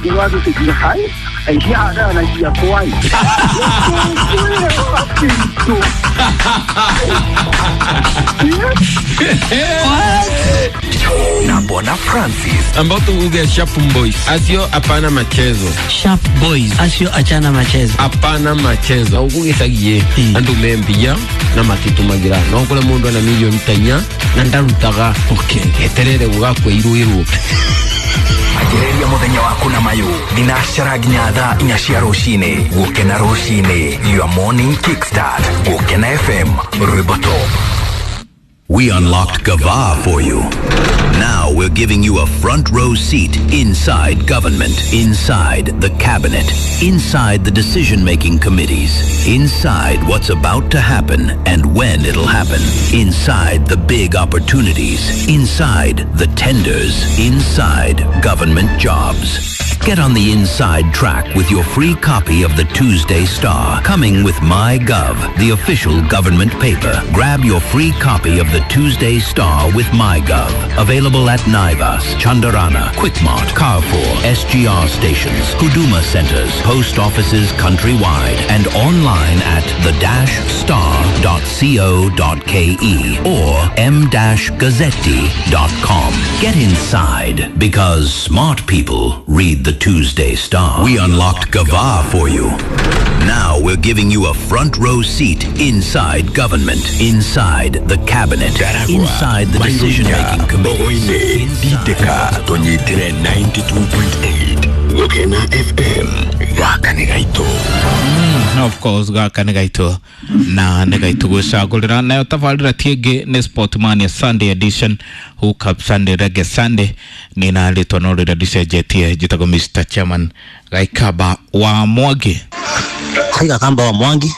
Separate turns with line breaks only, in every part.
一二乖。
Na Bwana Francis.
Ambao tuuge Sharp Boys. Asio hapana machezo.
Sharp Boys acio achana machezo.
Hapana machezo. Ugugicagie andu membia na matitumagira no kure mundu ana milioni tanya na ndarutaga.
Okay.
Eterere gugakwa iruirwo.
Anjĩrĩria mũthenya waku na mayũ thinacara nginya thaa inya cia rũcinĩ. Gũkena rũcinĩ, your morning kickstart. Gũkena FM, rwĩmbo top.
We unlocked Gava for you. Now we're giving you a front row seat inside government, inside the cabinet, inside the decision making committees, inside what's about to happen and when it'll happen, inside the big opportunities, inside the tenders, inside government jobs. Get on the inside track with your free copy of the Tuesday Star, coming with MyGov, the official government paper. Grab your free copy of the Tuesday Star with MyGov. Available at Naivas, Chandarana, Quickmart, Carrefour, SGR stations, Huduma centers, post offices countrywide, and online at the-star.co.ke or m-gazzetti.com. Get inside because smart people read the Tuesday Star. We unlocked Gava for you. Now we're giving you a front row seat inside government, inside the cabinet, inside the decision making committees.
Bogoine ndindĩka tũnyitĩre 92.8 Gũkena FM gaka nĩ gaitũ.
Of course gaka nĩ gaitũ na nĩ gaitũ gwĩcagũrĩra nayo tabarĩra ti ĩngĩ nĩ Sportmania Sunday edition, Hook Up Sunday, Reggae Sunday. Nĩ na rĩtwa no rĩrĩa ndicenjetie, njĩtagwo Mr Chairman Gaikaba wa Mwangi.
Kaiga kamba wa Mwangi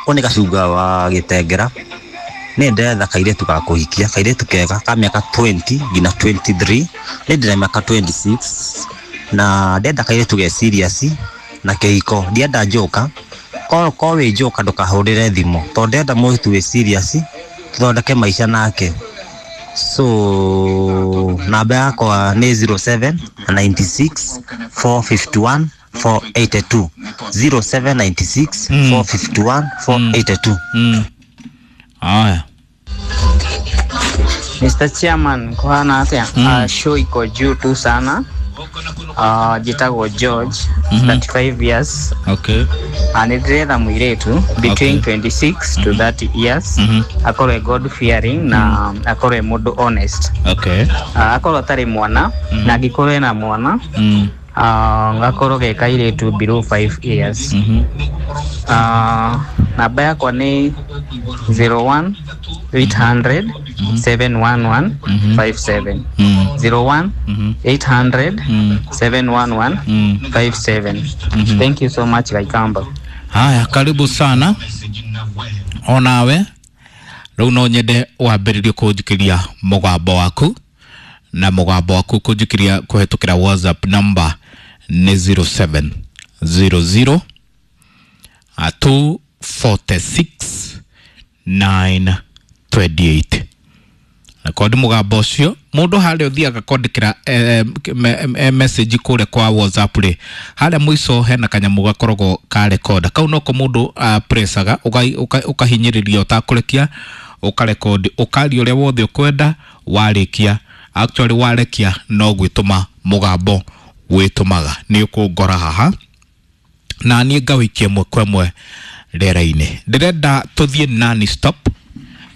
ũyũ nĩ gacunga wa gĩtengera. Nĩ ndĩretha kairĩtu ga kũhikia, kairĩtu kega ka mĩaka 20 nginya 23. Nĩ ndĩna mĩaka 26 na ndĩrenda kairĩtu ge serious na kĩhiko, ndienda njoka. Ko wĩ njoka ndũkahũrĩre thimũ tondũ ndĩrenda mũirĩtu wĩ serious tũthondeke maica nake. So namba yakwa nĩ 07 96 451 482, 0796 451 482.
Aya.
Mr. Chairman, kuhana atia? Show iko juu tu sana. Jitagwo George, 35 years.
Okay.
Nĩ ndĩretha mũirĩtu between 26 to 30 years. Akorwo e God fearing na akorwo e mũndũ honest.
Okay.
Akorwo atarĩ mwana na angĩkorwo ena mwana, gakorwo ge kairĩtu below 5 years. Namba yakwa nĩ 01 800 711 57, 01 800 711 57. Thank you so much, Gaikamba.
Haya, karibu sana onawe. Rĩu no nyende wambĩrĩrie kũnjikĩria mũgambo waku, na mũgambo waku kũnjikĩria kũhetũkĩra WhatsApp number nĩ 0700 246 928. Rekondi mũgambo ũcio. Mũndũ harĩa ũthiaga kwandĩkĩra message kũrĩa kwa WhatsApp rĩ, harĩa mũico hena kanyamũ gakoragwo ka rekoda kau, noko mũndũ pressaga, ũkahinyĩrĩria ũtakũrekia, ũkarekondi, ũkaria ũrĩa wothe ũkwenda. Warĩkia, actually warekia, no gwĩtũma mũgambo wĩtũmaga. Nĩ ũkũngora haha na niĩ ngawĩikia ĩmwe kwa ĩmwe rĩera-inĩ. Ndĩrenda tũthiĩ non stop,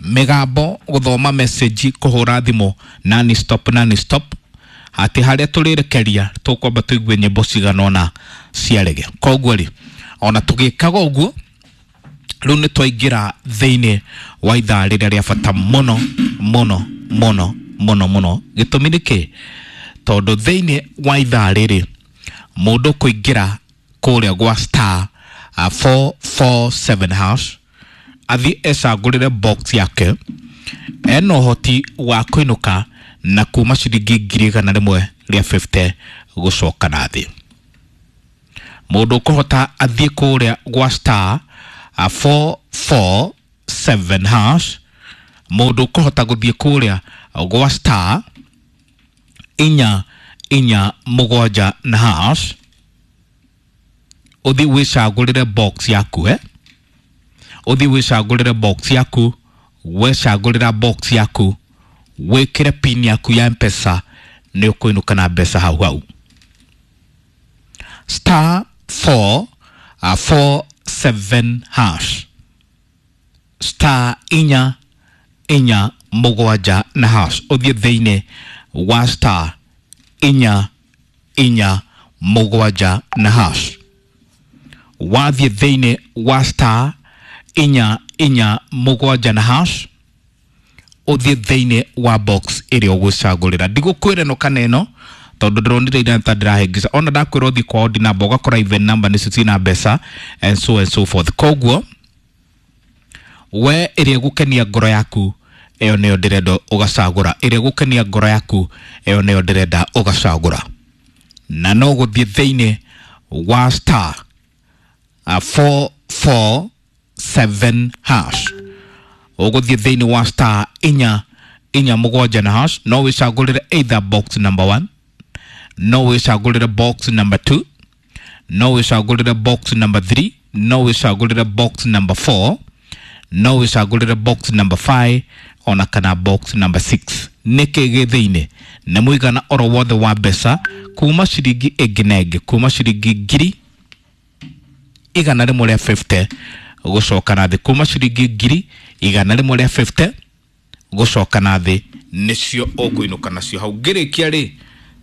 mĩgambo, gũthoma message, kũhũra thimũ, non stop, non stop, atĩ harĩa tũrĩrekeria tũkwamba tũigue nyĩmbo cigana ũna cia rege. Koguo rĩ, ona tũgĩkaga ũguo, rĩu nĩ twaingĩra thĩinĩ wa ithaa rĩrĩa rĩa bata mũno mũno mũno mũno mũno. Gĩtũmi nĩ kĩ? Tondũ thĩinĩ wa ithaa rĩrĩ mũndũ kũingĩra kũrĩa gwa star 447 hash, athiĩ ecagũrĩre box yake, ena ũhoti wa kũinũka na kuma ciringi 150,000 gũcoka na thĩ. Mũndũ ũkũhota athiĩ kũrĩa gwa star 447 hash, mũndũ ũkũhota gũthiĩ kũrĩa gwa star 447 na hash. Uthi wicagurire box yaku, uthi wicagurire box yaku. Wecagurira box yaku, wikire pin yaku ya Mpesa, ni ukuinuka na mbeca hau hau. Star 4 4 7 hash, star 4 4 7 na hash, uthie thiini wa star 4 4 7 na hash. Wathie thiini wa star 4 4 7 na hash, uthie thiini wa box ĩrĩa ũgũcagũrĩra. Ndigũkwĩra ĩno kana ĩno tondũ ndĩronire ira ta ndĩrahĩngĩca. Ona ndakwĩra ũthiĩ kwa odd number ũgakora even number nĩcio ciĩna mbeca and so and so forth. Koguo we ĩrĩa ĩgũkenia ngoro yaku ĩyo nĩyo ndĩrenda ũgacagũra, ĩrĩa ĩgũkenia ngoro yaku ĩyo nĩyo ndĩrenda ũgacagũra. Na no gũthiĩ thĩinĩ wa star 4 4 7 hash, ũgũthiĩ thĩinĩ wa star 4 4 7 na hash. No wĩcagũrĩre either box number 1, no wĩcagũrĩre box number 2, no wĩcagũrĩre box number 3, no wĩcagũrĩre box number 4, no wĩcagũrĩre box number 5 ona kana box number 6. Nĩkĩ gĩ thĩinĩ? Nĩ mũigana oro wothe wa mbeca kuma ciringi ĩngĩ na ĩngĩ, kuma ciringi 150,000 gũcoka na thĩ, kuma ciringi 150,000 gũcoka na thĩ nĩcio ũkũinũka nacio hau. Ngĩrĩkia rĩ,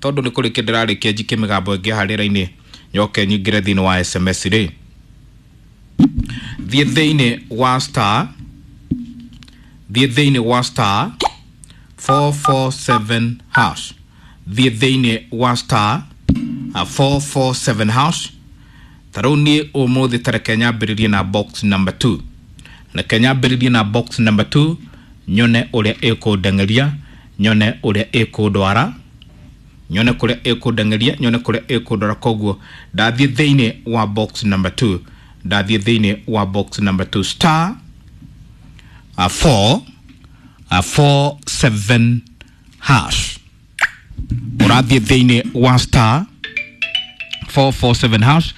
tondũ nĩ kũrĩkia ndĩrarĩkia, njike mĩgambo ĩngĩ haha rĩera-inĩ, nyoke nyingĩre thĩinĩ wa SMS rĩ. Thiĩ thĩinĩ wa star, thiĩ thĩinĩ wa star 447 hash, thiĩ thĩinĩ wa star 447 hash. Ta rĩu niĩ ũmũthĩ ta reke nyambĩrĩrie na box number 2, reke nyambĩrĩrie na box number 2, nyone ũrĩa ĩkũndeng'eria, nyone ũrĩa ĩkũndwara, nyone kũrĩa ĩkũndeng'eria, nyone kũrĩa ĩkũndwara. Koguo ndathiĩ thĩinĩ wa box number 2, ndathiĩ thĩinĩ wa box number 2, star 4 4 7 hash. Ũrathiĩ thĩinĩ wa star 447 hash.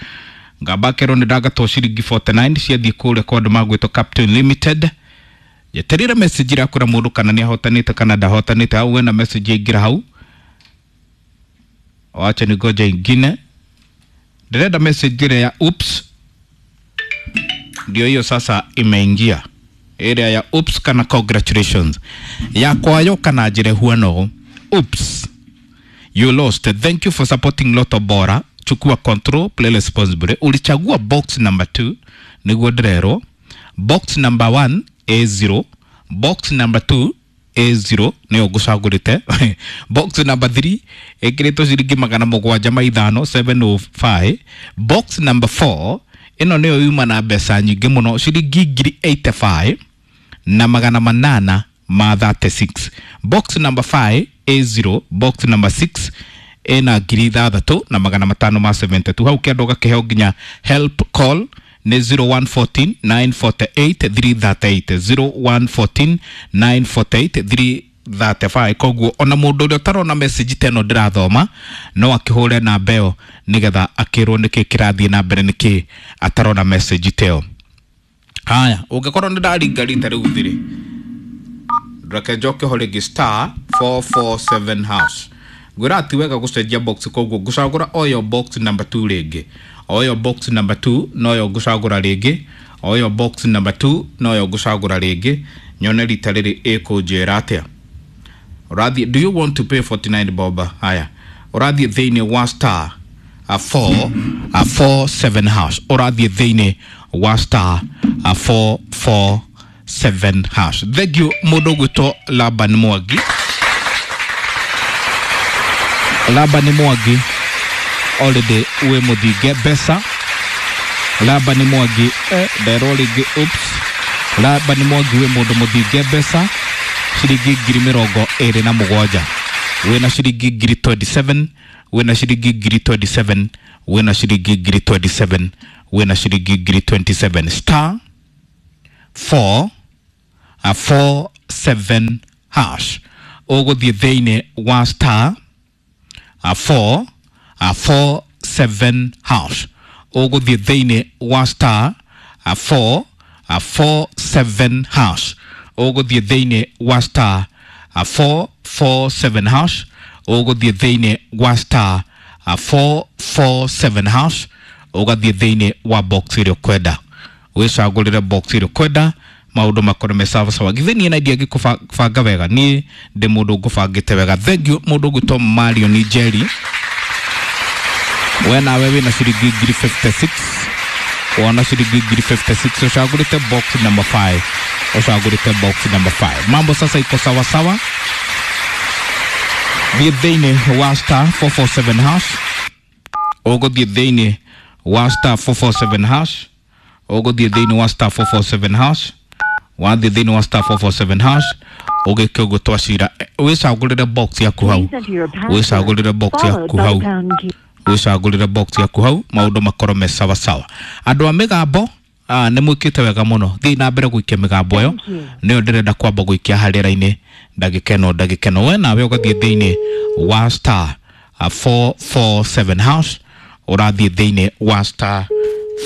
Ngamba kerwo nĩ ndagatwo ciringi 49 ciathiĩ kũrĩa kwa andũ magwĩtwo Captain Limited. Njeterire message ĩrakwĩra mũndũ kana nĩ ahotanĩte kana ndahotanĩte. Hau wena message yaingĩra hau, wacha ningoja ingine. Ndĩrenda message ĩrĩa ya oops, ndio hiyo sasa imeingia, ĩrĩa ya oops kana congratulations yakwayo kana njĩre huano. Oops, you lost, thank you for supporting Lotto Bora. Chukua control, play responsibly. Ulichagua box number 2, niguo ndĩrerwo. Box number 1 A0, box number 2 A0 nĩyo ngũcagũrĩte. Box number 3 ĩkĩrĩtwo ciringi 705, 705. Box number 4 ĩno nĩyo yuma na mbeca nyingĩ mũno, ciringi 85,836 na 836. Box number 5 A0, box number 6 ĩna 6,572. Hau kĩandũ gakĩheo nginya help call nĩ 0114 948 338, 0114 948 335. Koguo ona mũndũ ũrĩa ũtarona message ta ĩno ndĩrathoma no akĩhũre namba ĩyo nĩgetha akĩrwo nĩkĩ kĩrathiĩ na mbere, nĩkĩ atarona message ta ĩyo. Haya, ũngĩkorwo nĩ ndaringa rita rĩu thirĩ, reke njoke ho rĩngĩ, star 447 hash. Ngwĩra ti wega gũcenjia box, koguo ngũcagũra oyo box number 2 rĩngĩ, oyo box number 2 noyo ngũcagũra rĩngĩ, oyo box number 2 noyo ngũcagũra rĩngĩ, nyone rita rĩrĩ ĩkũnjĩra atĩa. Ũrathiĩ, do you want to pay 49 bob? Haya, ũrathiĩ thĩinĩ wa star 4 4 7 hash, ũrathiĩ thĩinĩ wa star 4 4 7 hash. Thank you mũndũ ũgwĩtwo Laban Mwangi. Laban Mwangi already wĩ mũthinge mbeca. Laban Mwangi nderwo rĩngĩ, oops. Laban Mwangi wĩ mũndũ mũthinge mbeca ciringi 27,000, wĩna ciringi 27,000, wĩna ciringi 27,000, wĩna ciringi 27,000, wĩna ciringi 27,000. Star 4 4 7 hash. Ũgũthiĩ thĩinĩ wa star 4 4 7 hash. Ũgũthiĩ thĩinĩ wa star 4 4 7 hash. Ũgũthiĩ thĩinĩ wa star 4 4 7 hash. Ũgũthiĩ thĩinĩ wa star 4 4 7 hash, ũgathiĩ thĩinĩ wa box ĩrĩa ũkwenda, wĩcagũrĩre box ĩrĩa ũkwenda, maũndũ makorwo me sawa sawa. Githĩ niĩ na ndiangĩkũbanga wega? Niĩ ndĩ mũndũ ngũbangĩte wega. Thank you mũndũ ũgwĩtwo Mario Njeri, we nawe wĩna ciringi 1056. Wona ciringi 1056, ũcagũrĩte box number 5, ũcagũrĩte box number 5. Mambo sasa iko sawa sawa. Thiĩ thĩinĩ wa star 447 hash. Ũgũthiĩ thĩinĩ wa star 447 hash. Ũgũthiĩ thĩinĩ wa star 447 hash. Wathiĩ thĩinĩ wa star 447 hash, ũgĩke ũguo twacira, wĩcagũrĩre box yaku hau, wĩcagũrĩre box yaku hau, wĩcagũrĩre box yaku hau, maũndũ makorwo me sawa sawa. Andũ a mĩgambo, nĩ mwĩkĩte wega mũno. Thiĩ na mbere gũikia mĩgambo ĩyo, nĩyo ndĩrenda kwamba gũikia harĩa raini ndagĩka ĩno. Ndagĩka ĩno we nawe ũgathiĩ thĩinĩ wa star 447 hash. Ũrathiĩ thĩinĩ wa star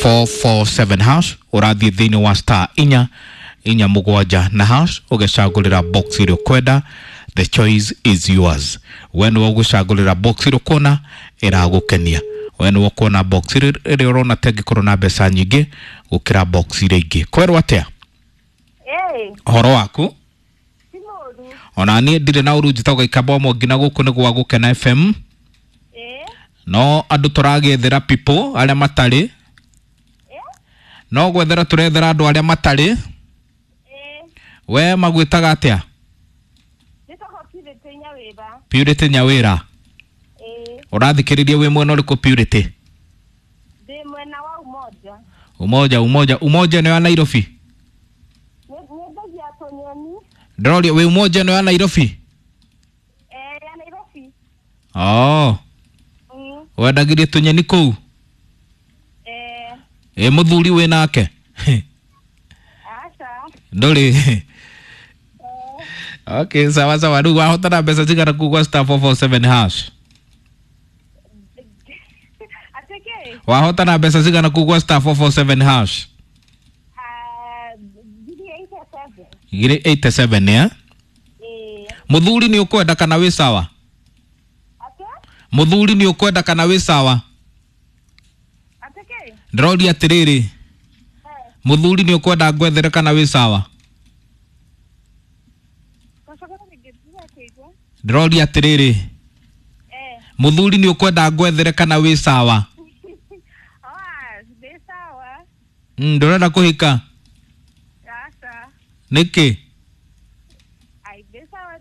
447 hash. Ũrathiĩ thĩinĩ wa star 4 4 7 na hash, ũgecagũrĩra box ĩrĩa ũkwenda. The choice is yours. We nĩwe ũgũcagũrĩra box ĩrĩa ũkuona ĩragũkenia. We nĩwe ũkuona box ĩrĩa ũrona ta ĩngĩkorwo na mbeca nyingĩ gũkĩra box iria ingĩ. Kwerwo atĩa? Ũhoro waku? Ona niĩ ndirĩ na ũru. Njĩtagwo Gĩkamba wa nginya gũkũ nĩ gwa Gũkena FM. No andũ tũragĩethera people arĩa matarĩ, no gwethera tũrethera andũ arĩa matarĩ. We magwĩtaga atĩa? Purity Nyawĩra. Ũrathikĩrĩria wĩ mwena ũrĩkũ, Purity?
Ndĩ mwena wa Umoja.
Umoja, Umoja, Umoja nĩ wa Nairobi?
Nyendagia tũnyeni.
Ndĩroria wĩ Umoja nĩ wa Nairobi?
Ya Nairobi.
Oh. Wendagĩria tũnyeni kũu? Ĩ mũthuri wĩ nake?
Aca.
Ndũrĩ? Okay, sawa sawa. Rĩu wahotana mbeca cigana kuu gwa star 447 hash?
Atĩkĩ?
Wahotana mbeca cigana kuu gwa star 447 hash?
1087.
1087, eh? Mũthuri nĩ ũkwenda kana wĩ sawa? Mũthuri nĩ ũkwenda kana wĩ sawa?
Atĩkĩ?
Ndĩroria atĩrĩrĩ, mũthuri nĩ ũkwenda ngwethere kana wĩ sawa? Ndĩroria atĩrĩrĩ, mũthuri nĩ ũkwenda ngwethere kana wĩ sawa?
Ndĩ sawa.
Ndũrenda kũhika?
Aca.
Nĩkĩ?
Ai, ndĩ sawa,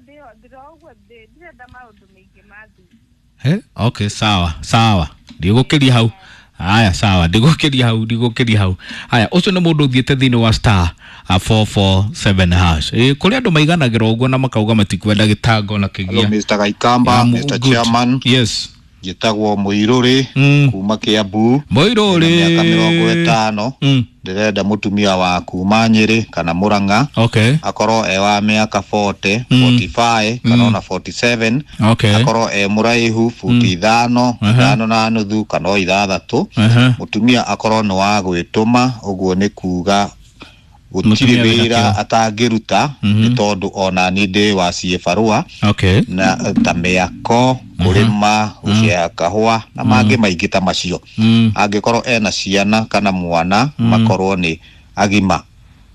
ndĩroguo ndirenda maũndũ maingĩ ma thuri.
He? Okay, sawa sawa, ndigũkĩria hau. Haya, sawa, ndigũkĩria hau, ndigũkĩria hau. Haya, ũcio nĩ mũndũ ũthiĩte thĩinĩ wa star 447 hash. Ĩ kũrĩ andũ maiganagĩra ũguo na makauga matikwenda gĩtango na
Hello,
kĩgia.
Mr. Gaikamba,
I'm
Mr.
good.
Chairman.
Yes.
Njĩtagwo Mũirũrĩ kuma Kiambu.
Mũirũrĩ.
Ndĩna mĩaka 50. Ndĩrenda mũtumia wa kuma Nyĩrĩ kana Mũrang'a.
Okay.
Akorwo e wa mĩaka 40, 45 kana ona 47.
Okay.
Akorwo e mũraihu futi 5, 5.5 kana o 6.
Aha.
Mũtumia akorwo nĩ wa gwĩtũma, ũguo nĩ kuga gũtirĩ
Mũtumia wĩna
wĩra
kĩo.
atangĩruta, nĩ tondũ ona niĩ ndĩ wa ciĩbarũa
Okay.
na ta mĩako, kũrĩma, gũcea kahũa na mangĩ maingĩ ta macio. Angĩkorwo ena ciana kana mwana, makorwo nĩ agima.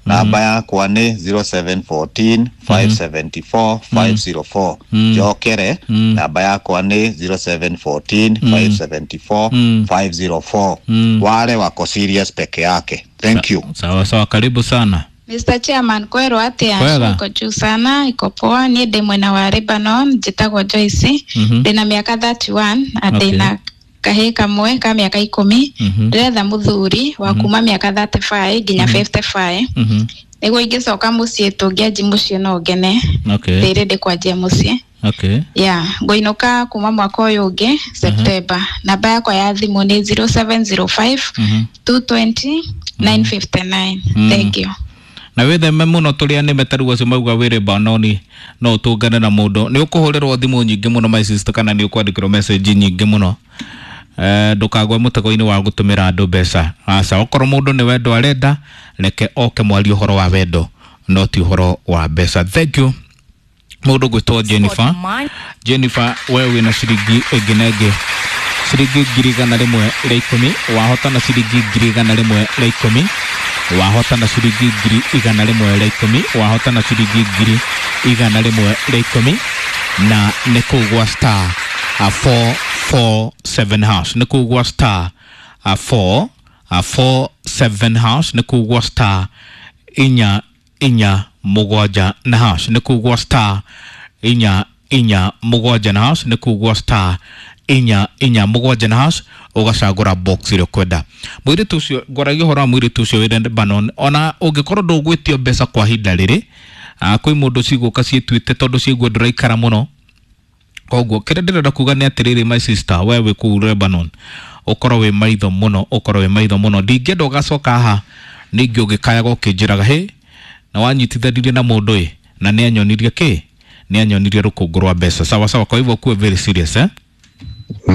Namba yakwa nĩ 0714 574 504. Njokere, namba yakwa nĩ 0714 574 504. Wale wako serious peke yake. Thank you.
Sawa sawa, karibu sana.
Mr. Chairman, kwerwo atia?
Kwega.
Iko juu sana, iko poa. Niĩ ndĩ mwena wa Lebanon, njĩtagwo Joyce. Ndĩna mĩaka 31 na ndĩna kahĩĩ kamwe ka mĩaka 10. Ndĩretha mũthuri wa kuma mĩaka 35 nginya 55, nĩguo ingĩcoka mũciĩ tũngĩanji mũciĩ no ngene. Ndĩ ready kwanjia mũciĩ. Yeah, ngũinũka kuma mwaka ũyũ ũngĩ September. Namba yakwa ya thimũ nĩ 0705 220 959. Thank you.
Na wĩtheme mũno tũrĩa nĩme ta rĩu acio mauga wĩ Lebanoni no ũtũngane na mũndũ, nĩ ũkũhũrĩrwo thimũ nyingĩ mũno, my sister, kana nĩ ũkwandĩkĩrwo message nyingĩ mũno. Ndũkagwe mũtego-inĩ wa gũtũmĩra andũ mbeca. Aca, okorwo mũndũ nĩ wendo arenda, reke oke mwarie ũhoro wa wendo, no ti ũhoro wa mbeca. Thank you. Mũndũ gwĩtwo Jennifer. Jennifer, we wĩna ciringi ĩngĩ na ĩngĩ, ciringi 110,000. Wahotana ciringi 110,000. Wahotana ciringi 110,000. Wahotana ciringi 110,000, na nĩ kũu gwa star 447 hash, nĩ kũu gwa star 4 47 hash, nĩ kũu gwa star 447 na hash, nĩ kũu gwa star 447 na hash, nĩ kũu gwa star 447 na hash, ũgacagũra box ĩrĩa ũkwenda. Mũirĩtu ũcio ngwaragia ũhoro wa mũirĩtu ũcio wĩ Lebanon, ona ũngĩkorwo ndũgwĩtio mbeca kwa ihinda rĩrĩ, kwĩ mũndũ cigũka ciĩtuĩte tondũ ciaigua ndũraikara mũno. Koguo kĩrĩa ndĩrenda kuga nĩ atĩrĩrĩ, my sister, we wĩ kũu Lebanon, ũkorwo wĩ maitho mũno, ũkorwo wĩ maitho mũno. Ndingĩenda ũgacoka haha ningĩ ũgĩkayaga ũkĩnjĩraga hĩ na wanyitithanirie na mũndũ ĩ na nĩ anyonirie kĩ, nĩ anyonirie rũkũngũ rwa mbeca. Sawa sawa, kwa hivyo kuwe very serious, eh?